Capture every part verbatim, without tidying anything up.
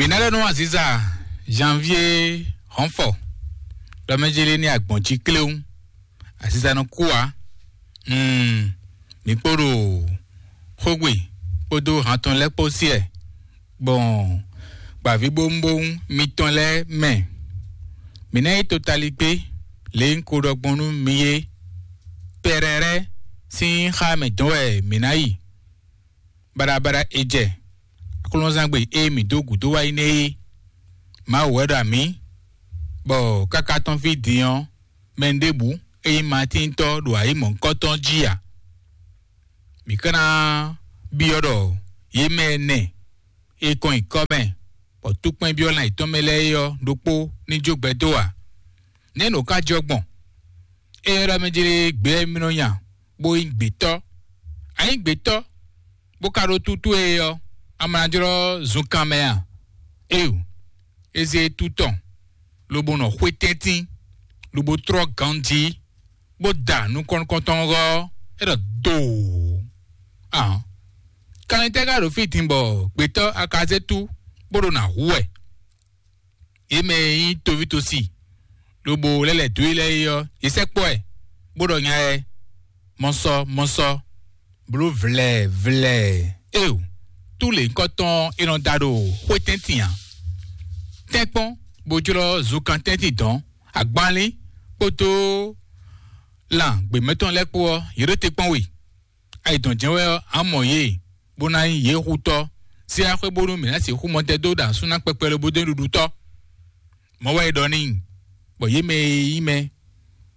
Mǐ ná ɖɔ nú aziza Janvier Hɔnfɔ ɖɔ mɛ jélé ní agbɔ̌n jí kléwún. Aziza nɔ kú ǎ. Mm, mǐ kpo ɖo xógbe kpódó hantɔn lɛ́ɛ kpó sí ɛ gbɔn gbǎvíbówúnbówún mitɔn lɛ́ɛ mɛ. Mǐ ná yi totaligbé lě e un ko ɖɔ gbɔn nú mi é. Pɛrɛrɛ sín xá mɛ dɔn wɛ mǐ ná yi. Baɖabaɖa e jɛ aklúnɔzángbe e mǐ dó gǔdo wá yi nɛ́ é. Mawu wɛ ɖo amǐ, bɔ káká tɔn fí din ɔ́, mɛ ɖěbǔ e nyí Matíntɔ́ ɖo ayǐ mɔ̌hunkɔtɔn jí ǎ. Mǐ ka ná byɔ́ ɖɔ yě mɛ ɛnɛ e kɔn nyi kɔ́ mɛ, bɔ túkpɛ́n byɔ́ lan yětɔn mɛ lɛ́ɛ é ɔ́ ɖokpó ní jó gbɛ dó ǎ. Nɛ̌ nǔ ka jɔ gbɔn? Éyɛ́ ɖɔ mɛ jlé gbě wɛ mi nɔ nya, bó nyí gbětɔ́. A nyǐ gbětɔ́, bó ka ɖó tútú e ɔ́, a ma ná jlɔ́ zunkan mɛ a? Éyo, é zé tú tɔn, lobo nɔ xwé tɛ́ntin, lobo trɔ́ ganjí, bó da nukɔn nukɔntɔn ɔ́, é ɖɔ doo. Ahɔn, kanlin tɛ́ ka ɖo fí din bɔ gbětɔ́ a ka zé tú bó ɖo nǎ hu wɛ? Yě mɛ e nyí toví tosi, lobo lɛ́ lɛ̌ dó e lɛ́ɛ é ɔ́, yě sɛkpɔ́ ɛ, bó ɖɔ nya ɛ: "Mɔsɔ, mɔsɔ, bló vlɛ̌, vlɛ̌." Éyo, tú lě nyǐkɔ tɔn e nɔ da ɖo xwétɛ́ntin ǎ. Tɛ́nkpɔ́n, bó jlɔ́ zunkan tɛ́ntin dɔ̌n, agbanlín kpódó lan gběmɛtɔn lɛ́ɛ kpó ɔ́, yě ɖo te kpɔ́n we. Ayǐ dɔn jɛ́n wɛ ɔ́, a mɔ yě, bó ná nyí yě xutɔ́, sí axwé bónú mǐ ná sixú mɔ tɛn dó ɖo asú ná kpɛkpɛ lobo dó nyí ɖuɖutɔ́. Mɔ̌ wɛ è ɖɔ n'i, bɔ yě mɛ e nyí mɛ,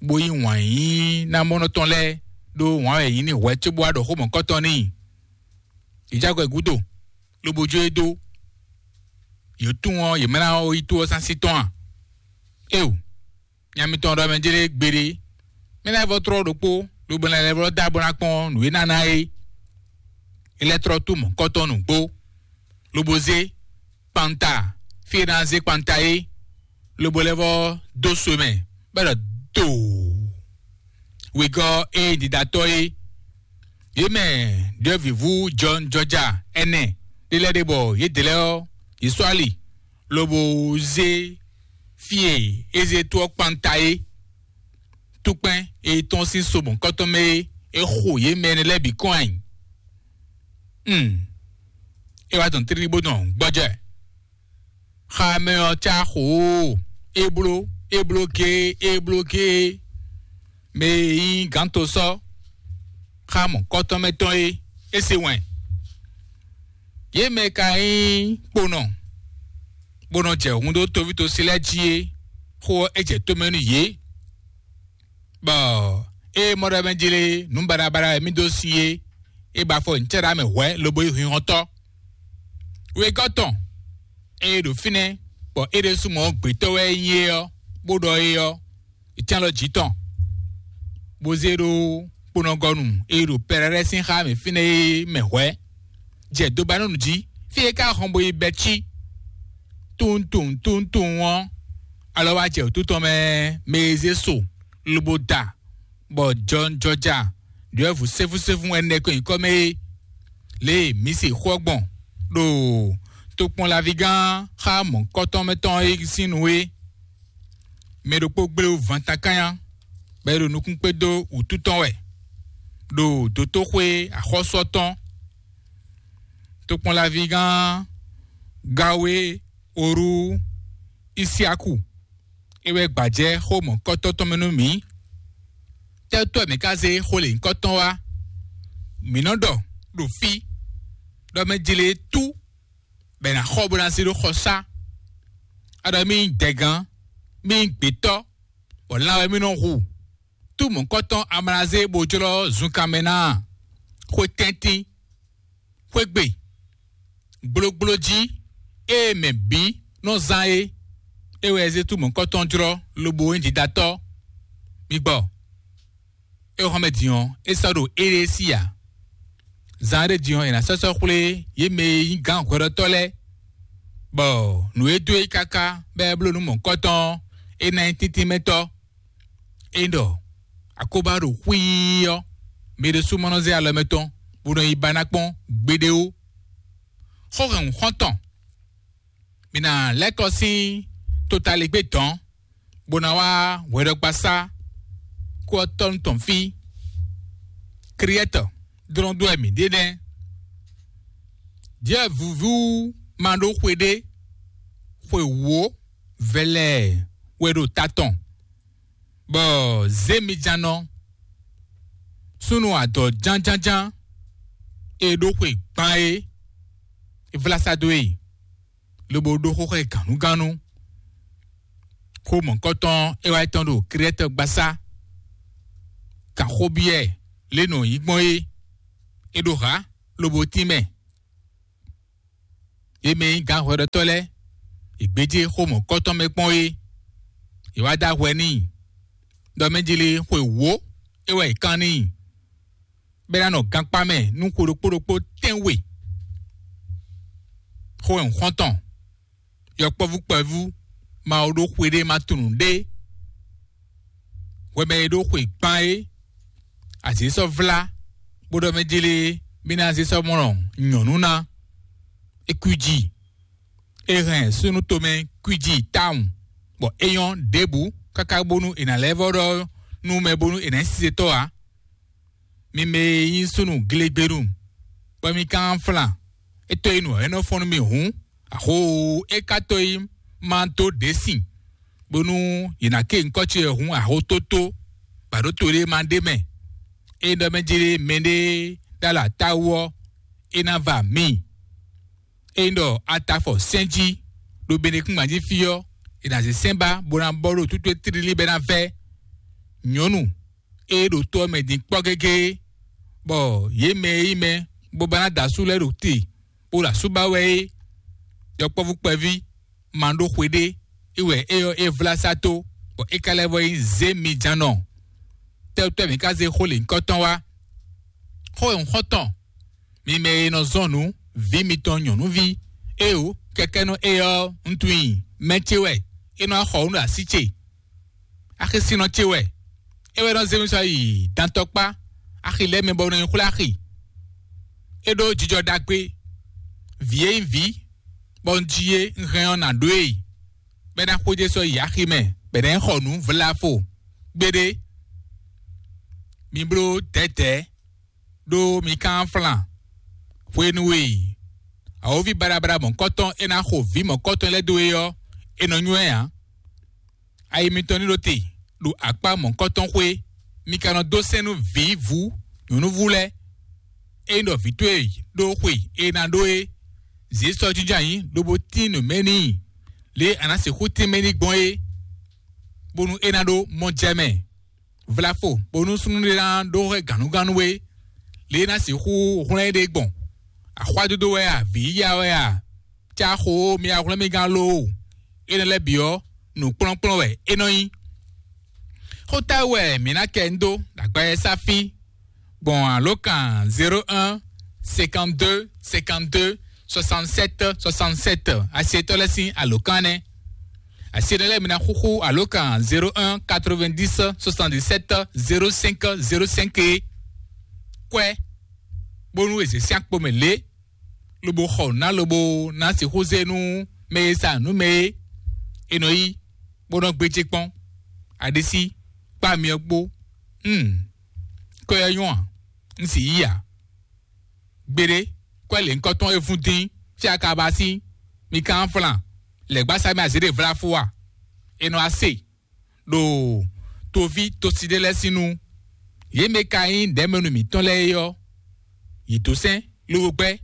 bó yí wǎn yíyí ná mɔnɔ tɔn lɛ́ɛ ɖó wǎn wɛ è yǐ n'i hwɛ̌ cóbó wá ɖɔ xó mɔ̌kɔtɔn n'i. Yě jɛ agɔ gúdo, lobo jó e dó. Yě tunwun ɔ́, yě mɛ ná wá yi tó ɔ́ sín así tɔn a? Éo, nya mitɔn ɖɔ mɛ jlé gbeɖé. Mɛ lɛ́ɛ vɔ tlɔ́ ɖokpó, lobo lɛ́ vɔ dó abɔ ná kpɔ́n nǔ e ná ná é. É lɛ́ tlɔ́ tú mɔ̌kɔtɔn nǔgbó, lobo zé kpanta fí e ná zé kpanta é, lobo lɛ́ vɔ dó so mɛ, bɔ é ɖɔ doo. Wegɔ́ e ɖiɖatɔ́ é, yě mɛ ɖyɔ̌vǐvú jɔnjɔja ɛnɛ ɖé lɛ́ɛ ɖe bɔ yědɛɛ lɛ́ɛ ɔ́, yě sɔ́ ali, lobo zé fí e é zé tó ɔ́ kpanta é. Túkpɛ́n e tɔ́n sín so mɔ̌kɔtɔn mɛ é, é xo yě mɛ énɛ́ lɛ́ɛ bǐ kɔn ayǐ. Hmm. É wá dɔn tlílí bó dɔn gbɔjɛ́. Xa mɛ ɔ́ cá xo ó, é bló, é bló géé, é bló géé. Mɛ e nyí gǎntosɔ́ xá mɔ̌kɔtɔn mɛ tɔn é, é se wɛn. Yě mɛ ka nyí kponɔ, bó nɔ jɛ hun dó toví tosi lɛ́ɛ jí é, xó ɔ́ é jɛ tó mɛ nú yě. Bɔ ée mɔ ɖɔ mɛ jlé nǔ baɖabaɖa e mì dó sin é, é ba afɔ nǔcɛ́ɖá mɛ hwɛ̌ lobo yi hwinhɔntɔ́. Wegɔ́ tɔn e ɖo fínɛ́, bɔ é ɖésú mɔ gbětɔ́ wɛ é nyí é ɔ́, bó ɖɔ é ɔ́, é cyán lɔ jǐ tɔn, bó zé ɖó kponɔgɔnu e ɖo Pɛrɛ́rɛ́ sín xá mɛ fínɛ́ é mɛ hwɛ̌, jɛ dobanúnu jí, fí e é ka hɔn bo yi Bɛcí. Tunwun tunwun tunwun tunwun ɔ́, alɔ wá jɛ wǔtu tɔn mɛ, mɛ e zé so lobo da, bɔ jɔnjɔja ɖyɔ̌vǔ sɛ́fúsɛ́fú ɛnɛ ko nyǐkɔ mɛ é. Lě e mǐ se xó ɔ́ gbɔn ɖo tokpɔnlaví gán xá mɔ̌kɔtɔn mɛ tɔn é sín nu é, mɛ ɖokpó gblé wú vantakanya, bɔ é ɖo nukún kpé dó wǔtu tɔn wɛ, ɖo dotóxwé axɔ́sú ɔ́ tɔn. Tokpɔnlaví gán Gawe Orú Isiaku, é wɛ gbajɛ xó mɔ̌kɔtɔn tɔn mɛ nú mǐ. Tɛ́tɔ́ mǐ ka zé xó lěhunkɔtɔn wá? Mǐ nɔ ɖɔ ɖo fí ɖɔ mɛ jlé tú bɔ è nǎ xɔ bó ná zé ɖó xɔsá. A ɖɔ mì nyí dɛgán, mì nyí gbětɔ́, bɔ lan wɛ mì nɔ hu. Tú mɔ̌kɔtɔn amlazé bó jlɔ́ zunkan mɛ ná a? Xwe tɛ́ntin, xwé gbe, gblógbló jí, ée mɛ bǐ nɔ zán é, é wɛ zé tú mɔ̌kɔtɔn jlɔ́ lobo nyí didatɔ́. Mi gbɔ, é xɔ́mɛ din ɔ́, é sɔ́ ɖo éɖée sí ǎ. Zan ɖé din ɔ́, è nǎ sɔ́ sɔ́ xwlé yě mɛ e nyí gǎn hwɛɖɔtɔ́ lɛ́ɛ, bɔ nǔ e dó é káká bɔ é bló nǔ mɔ̌kɔtɔn ɔ́, é ná nyí tíntín mɛ tɔ́. É ɖɔ akóbá ɖo xwíí ɔ́, mɛ ɖésú ma nɔ zé alɔ mɛtɔn bó nɔ yi ba ná kpɔ́n gbeɖé ó. Xó hɛn xɔ́ntɔn, Mi ná lɛ́ kɔ sín totaligbé dɔ̌n, bó ná wá hwɛɖɔgbasá kú ɔ́ tɔ́nu tɔn fí. Kriɛ́tɔ dlɔ́n dó wɛ mǐ ɖe nɛ́. Jɛ̌ vǔvú ma ɖó xwe ɖé, xwe wǒ vɛlɛɛ wɛ ɖo ta tɔn, bɔ zěmijannɔ súnnu adɔ̌ jánjánján e ɖó xwe gban é, é vlá sá dó e, lobo ɖó xóxó gǎnnugánnu. Xó mɔ̌kɔtɔn é wá tɔn ɖo Krɛ́tɔ gbasá, kan xó byɔ́ ɛ lě nɔ yí gbɔn é, é ɖo hǎ lobo tínmɛ. Yě mɛ e nyí gǎnhwɛɖɔtɔ́ lɛ́ɛ, è gbéjé xó mɔ̌kɔtɔn mɛ kpɔ́n é, è wá dó ahwɛ n'i, ɖɔ mɛ jlé xwe wǒ é wɛ è kán n'i, bɔ é ná nɔ gankpá mɛ nú xwe ɖokpó ɖokpó tɛ́nwe. Xó e un xɔ́n tɔn, yɔkpɔ́vú kpɛvú, Mawu ɖó xwe ɖé ma tunwun ɖé. Hwɛ mɛ e ɖó xwe gban é, azě sɔ́ vlá, bó ɖɔ mɛ jlé mì ná zé sɔ́ mɔ nyɔ̌nu ná. É kwíji, é hɛn súnnu tomɛ kwíji tawun, bɔ é nyɔ́ ɖěbǔ káká bónú è nǎ lɛ́ vɔ́ ɖɔ nú mɛ bónú è nǎ nyí sisetɔ́ ǎ. Mi mɛ e nyí súnnu glegbenu, bɔ mi ka nɔ flan, é tɔ́ yi nǔ ɔ́, é nɔ fɔ́n nú mi hǔn, axó é ka tɔ́ yi ma dó ɖě sin, bónú yě ná ké nyǐkɔ ce hǔn axó tótó, bɔ ɖǒ to ɖé ma ɖ'é mɛ. Ényí ɖɔ mɛ jlé mɛɖé ɖó alɔ atáwú ɔ́, é ná va mi. Ényí ɖɔ a ta afɔ sɛ́n jí ɖo benekúngban jí fí ɔ́, è nǎ zé sɛ́n ba bó ná bɔ ɖo tútú e tlílí bɔ é ná vɛ́. Nyɔ̌nu e ɖo to ɔ́ mɛ din kpɔ́ gégé, bɔ yě mɛ e nyí mɛ bó ba ná da asú lɛ́ɛ ɖo te, bó ɖo asú ba wɛ é, yɔkpɔ́vú kpɛví ma ɖó xwe ɖé, é wɛ é ɔ́ é vlá sá tó, bɔ é ka lɛ́ vɔ nyí zě mi ján nɔ. Tɛ́wútɔ́ mǐ ka zé xó lěhunkɔtɔn wá? Xó e un xɔ tɔn, mi mɛ e nɔ zɔn nǔ vǐ mitɔn nyɔ̌nuví, éeǒ, kɛkɛ́nɔ éyɛ́ ɔ́, un tunwun i mɛ ce wɛ, é nɔ wá xɔ nǔ ɖo así ce. Axisínɔ ce wɛ, é wɛ nɔ zé mi sɔ́ yi dantɔkpá axi lɛ́ɛ mɛ bɔ un nɔ yi xwlé axi. É ɖó jijɔ ɖagbe, vǐ e nyí vǐ, bɔ un ji é, un hɛn ɔ́ nǎ ɖó e, bɔ é ná xwedó sɔ́ yi axi mɛ, bɔ è nǎ yi xɔ nǔ vlafo. Gbeɖé, mi bló dɛ̌dɛ̌, ɖó mi ka nɔ flan. Hwenu e awǒvi baɖabaɖa mɔ̌kɔtɔn e ná xo vǐ mɔ̌kɔtɔn lɛ́ɛ dó é ɔ́, è nɔ nywɛ́ ǎ. Ayi mitɔn ní ɖo te ɖo akpá mɔ̌kɔtɔn xwé, mi ka nɔ dó sɛ́n nú vǐvú nyɔ̌núvú lɛ́ɛ. Ényí ɖɔ vǐ towe ɖó xwe e ná ɖó é, zě sɔ́ jínjɔ́n ayǐ lobo tín nǔ mɛ n'i, lě e a nǎ sixú tín mɛ n'i gbɔn é, bónú é ná ɖó mɔ jɛ mɛ. Vlafo, bónú súnnu ɖé ná ɖó hwɛ gǎnnugánnu é, lě e ná sixú hwlɛ́n éɖée gbɔn. Axwádódó wɛ a, vǐ yíyá wɛ a, cá xo mi wá hwlɛ́n mì gán loo. Énɛ́ lɛ́ɛ bǐ ɔ́, nǔkplɔ́nkplɔ́n wɛ é nɔ nyí. Xóta wɛ mǐ ná kɛ ń dó ɖo agba e sá fí gbɔn alǒkan zéro un cinquante-deux cinquante-deux soixante-sept soixante-sept, asietɔ́ lɛ́ɛ sín alǒkan nɛ́. Asiɖé lɛ́ɛ mi ná xúxú alǒkan zéro un quatre-vingt-dix soixante-dix-sept zéro cinq zéro cinq é. Kwɛ́, bónú è zě sín akpo mɛ lě, lobo xɔ nǔ ná lobo ná sixú zé nú mɛ e sa nǔ mɛ é, è nɔ yí, bó nɔ́ gbéjé kpɔ́n. Aɖisí kpá myɔ kpó. Hmm. Kɔ ɛ nyɔ́ a? Un sì yí ǎ. Gbeɖé, kɔ́ lěhunkɔtɔn e vún dín fí akaba sín, mi ka flan lɛ̌gbásá mɛ azě ɖe vlá fó a? È nɔ wá se ɖo toví tosi ɖé lɛ́ɛ sín nu. Yě mɛ ka nyí ɖɛ̌mɛnu mǐtɔn lɛ́ɛ é ɔ́, yě dó sɛ́n lobo gbɛ́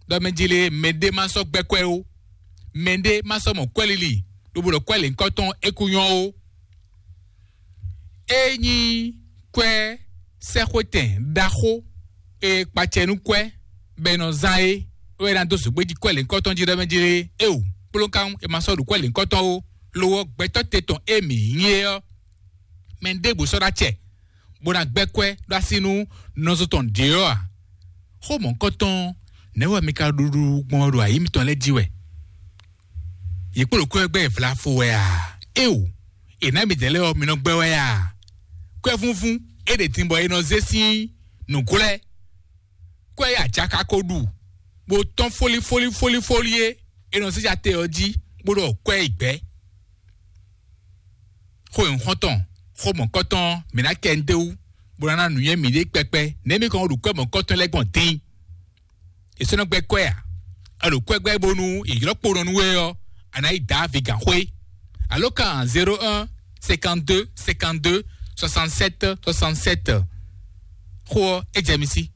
ɖɔ mɛ jlé mɛɖé ma sɔ́ gbɛ́ kwɛ́ ó, mɛɖé ma sɔ́ mɔ kwɛ́ lili lobo ɖɔ kwɛ́ lěhunkɔtɔn é kú nyɔ́ ó. É nyí kwɛ́ sɛ́xwetɛn ɖaxó e kpacɛ nú kwɛ́ bɔ è nɔ zán é, é wɛ ná dó zǒgbéjí kwɛ́ lěhunkɔtɔn jí ɖɔ mɛ jlé é o, kplɔ́nkan è ma sɔ́ ɖo kwɛ́ lěhunkɔtɔn ó, lo ɔ́, gbɛtɔ́ te tɔn e mǐ nyí é ɔ́, mɛ ɖěbǔ sɔ́ ɖó acɛ, bó ná gbɛ́ kwɛ́ ɖó así nú nɔzo tɔn ɖě ɔ́ ǎ. Xó mɔ̌hunkɔtɔn nɛ̌ wɛ mi ka ɖuɖu gbɔn ɖo ayǐ mitɔn lɛ́ɛ jí wɛ? Yě kpo ɖo kwɛ́ gbɛ́ vlafo wɛ a? Éeǒ, è nǎ midɛɛ lɛ́ɛ ɔ́, mi nɔ gbɛ́ wɛ a? Kwɛ́vúnvún é ɖe din bɔ è nɔ zé sín nǔglɛ́. Kwɛ́ e ajaka ko ɖu, bó tɔ́n fólífólífólífólí é, è nɔ zé ja te ɔ́ jí, kpódó kwɛ́ yi gbɛ́. Xó nyǐxɔ́ntɔn, xó mɔ̌kɔ́tɔn, mǐ ná kɛ ndéwú, bó ná ná nǔnywɛ́ mǐɖée kpɛkpɛ, nɛ̌ mǐ kɔn ɖo kwɛ́ mɔ̌kɔ́tɔn lɛ́ɛ gbɔn dín? È sɔ́ nɔ gbɛ́ kwɛ́ a? A ɖo kwɛ́ gbɛ́ bónú è ylɔ́ kponɔ nú we ɔ́, a nǎ yi Davi gǎnxwé. Alo kan zéro un cinquante-deux cinquante-deux soixante-sept soixante-sept. Xó ɔ́, é jɛ mi sí.